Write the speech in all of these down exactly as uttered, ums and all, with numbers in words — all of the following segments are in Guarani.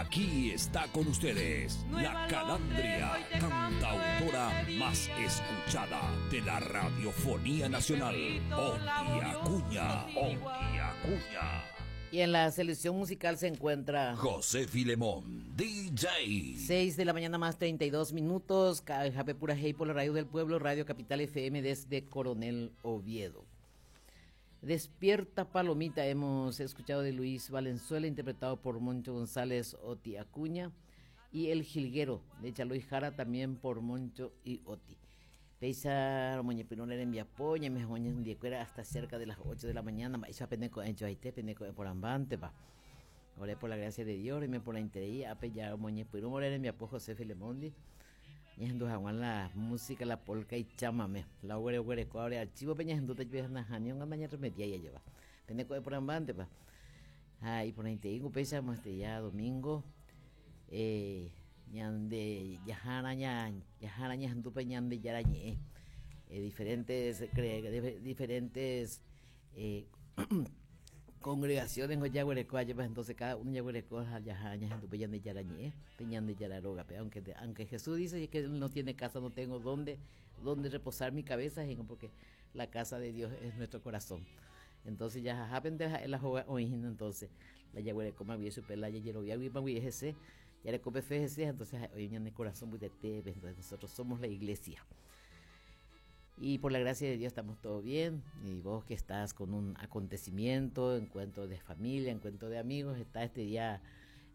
Aquí está con ustedes la calandria cantautora más escuchada de la radiofonía nacional, Oti Acuña. Oti Acuña. Y en la selección musical se encuentra José Filemón, D J. seis de la mañana más treinta y dos minutos, Jape Pura Hey por la Radio del Pueblo, Radio Capital F M desde Coronel Oviedo. Despierta Palomita hemos escuchado de Luis Valenzuela, interpretado por Moncho González, Oti Acuña, y El Jilguero de Chaloy Jara, también por Moncho y Oti. Péicha romoñepyrũ rembiapo, ñaime oñondivekuéra hasta cerca de las ocho de la mañana, mba'éicha peneko'ẽjoaite, peneko'ẽporãmbántepa. Ore por la gracia de Dios, me por la interés, ápe ya romoñepyrũ ore rembiapo José Filemondi. Ñahendu hag̃ua la música, la polka y chamamé. La oguereguereko ore archivo pe ñahendúta jepe naháni ñarremedia ya lleva. Peneko'ẽporãmbántepa. Ha iporãitei upéicha este ya domingo eh, ñande jahárã ña jahárã ñahendúpe Ñandejára ñe'ẽ eh, diferentes cre, diferentes eh, congregaciones ojaguereko pues entonces cada uno jaguereko jahárã ñahendúpe Ñandejára ñe'ẽ pe Ñandejára rógape, aunque aunque Jesús dice que él no tiene casa, no tengo dónde dónde reposar mi cabeza, porque la casa de Dios es nuestro corazón. Entonces ya jahápente la joga entonces la jaguereko magui chupe la jajerovia magui hese ya fe entonces hoy en el corazón de entonces nosotros somos la iglesia. Y por la gracia de Dios estamos todo bien. Y vos que estás con un acontecimiento, encuentro de familia, encuentro de amigos, está este día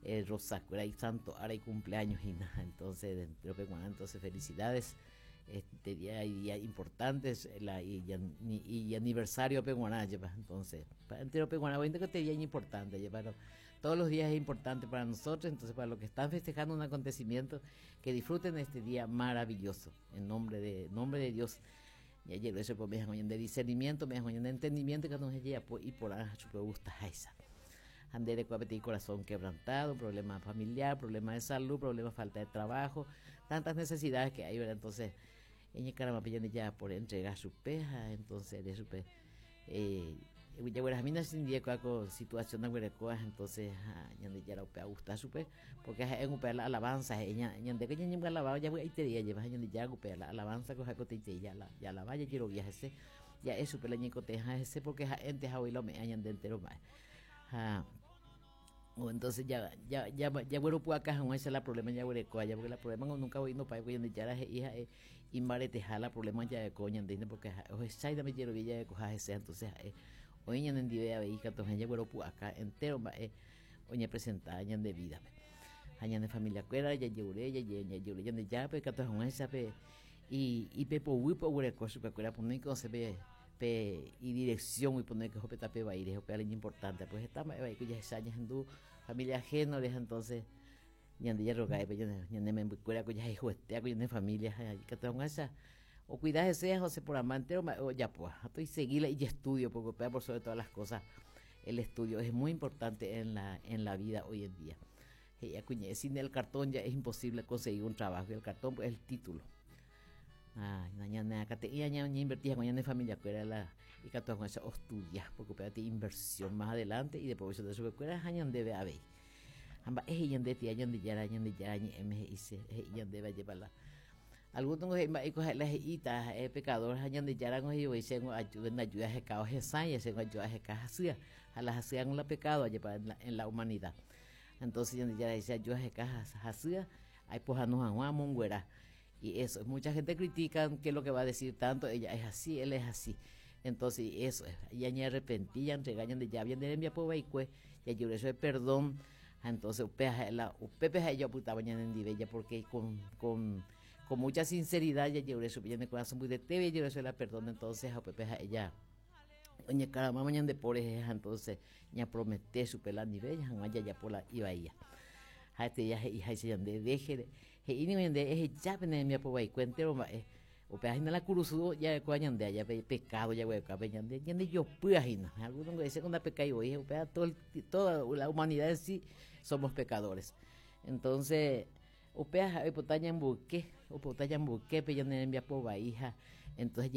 el Rosacura y Santo Ara y cumpleaños y nada. Entonces, entonces felicidades. Este día hay días importantes la, y, y, y aniversario peguaná, entonces, entero peguaná, que este día es importante, pero todos los días es importante para nosotros, entonces para los que están festejando un acontecimiento, que disfruten este día maravilloso, en nombre de, nombre de Dios. Ya llegó eso, pues me de discernimiento, me de entendimiento que no se llega y por gusta esa. Andere corazón quebrantado, problema familiar, problema de salud, problema falta de trabajo, tantas necesidades que hay, ¿verdad? Entonces, en caramba ya por entregar su peja, entonces de su pe eh ya mina sin día con situación de entonces ñande ya la gusta supe porque en upe la alabanza ella ñande que ñande alababa ya voy te día lleva ñande ya upe la alabanza cosa que te ya la ya la vaya quiero viaje ese ya eso pe la ñecoteja ese porque ente ja hoy lo me ñande entero más ha o entonces ya ya ya ya bueno pues acá no ese la problema ya ya porque la problema nunca voy no pa voy ya la hija y mbareteha la problema ya de coña porque o esa me quiero ya de coja ese entonces hoy ñande ndive avei katu jagueropu'aka entero mba'e oñepresenta ñande vida-pe ha ñane familia-kuéra jajeure jajeure Ñandejárape katu hag̃uáichape ipepoguýpe oguereko chupekuéra ponéike osẽ pe pe idirección oiponéke oho pe tape vaíre upéva importante pues heta mba'e vai jahecha ñahendu familia ajeno entonces ñande jarrogáipe ñane membykuéra ko jahayhuete ñane familia ikatu hag̃uáicha o cuidar ese José por amante o ya pues estoy seguir y estudio porque por sobre todas las cosas el estudio es muy importante en la en la vida hoy en día. Sin el cartón ya es imposible conseguir un trabajo y el cartón pues, es el título. Ah, ñane akate'ỹ ñainvertía con ñane familia kuéra la ikatu hag̃uáicha ostudia porque upéva inversión más adelante y de provecho de su kuéra ha ñandéve avei ha mba'e he'i ñande tía Ñandejára Ñandejára ñe'ẽme he'ise he'i ñandéve ajépa la algunos he'i mba'éiko ha'e la he'íta ha'e pecador ha Ñandejára he'i chéngo ayuda ayuda aheka hesãi chéngo ayuda aheka hasýa ha la hasýa la pecado ajépa en la, en la humanidad. Entonces Ñandejára he'i ayuda aheka hasýa aipohãno hag̃ua amonguera. Y eso, mucha gente critica que lo que va a decir tanto, ella es así, él es así. Entonces, eso es, ya ni arrepentí, ya entrega, ya bien de rembiapo vaikue, ya yo eso de perdón. Entonces, upe la upe ella opytáva ñanendive ya porque con, con, con mucha sinceridad ya yo eso de corazón muy de tebe yo eso la perdón, entonces, upe ella oye cara mamá ñande por entonces ya promete su pela nivel ya ya por la iba ella ha este ya he'i háicha ñande deje he'i ñande eheja pene rembiapo vaikue entero mba'e upéva hína la kurusu jarekóva ñande allá pe pecado jaguerekóva ñande ñande jopýa hína. Algunos dicen que pecai voi upéva todo toda la humanidad en sí somos pecadores. Entonces upéva oipota ñamboyke oipota ñamboyke pe ñane rembiapo vai ha entonces.